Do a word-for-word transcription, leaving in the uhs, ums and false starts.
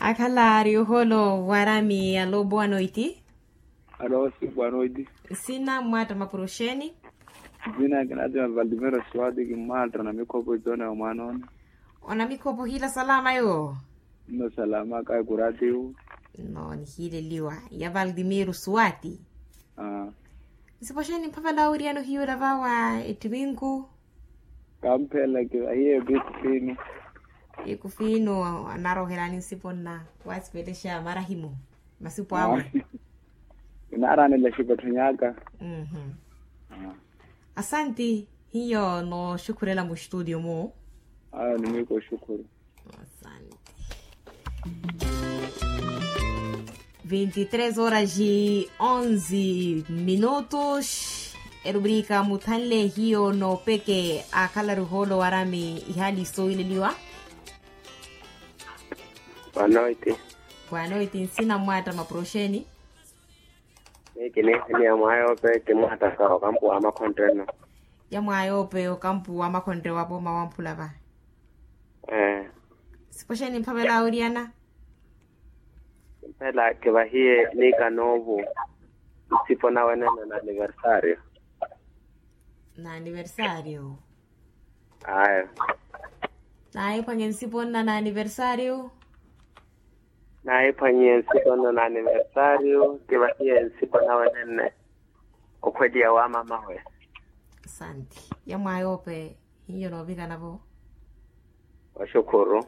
Akhala ari oholo warami alo boa noiti. Alo si boa noiti. Sina mmwaatta mapuro xeeni? Sina kinatima valdimero swati kimmwaatta na mikhopo itoona ya mwaana one. Ona mikhopo hiila salama yo? Nno salama kayi kuratiwu. Nno nihiileliwa ya valdimero swati. Nsipo xeeni mphavela wiriano hiyo lava wa ettiminku? Kampheela kivahiye piku fiinu. Piku fiinu. Anaroohelaani nsipo nna waasipelexa marahimu masipo awe. Inaaraanela xikottho nyaka. Asanti. Hiyo nooxukhurela muxtudio mu. Ayo nimwiko oxukhuru. Asanti. Vinti tres horas e onze minutos. Erubrika muthanle hiyo noopeke akhala ruholo warami ihali soileliwa. Boa noite. Boa noite nsina mmwaatta mapuro xeeni? Miyo kiniihani ya mwaayope kimwaattaka okampu wa makhonreno. Ya mwaayope okampu wa makhonre wa pooma wamphula va. Sipo xeeni mphavela wiriana? Mphela kivahiye niika noovo nsipo nawe nene na aniversario. Na aniversario. Ayo. Naye phwanye nsipo nna na aniversario. Naye phwanye nsipo nna na aniversario kivahiye nsipo nawe nene. Okhweliya wa mamawe. Asanti. Ya mwaayope hiyo noovikana vo. Oxukhuru.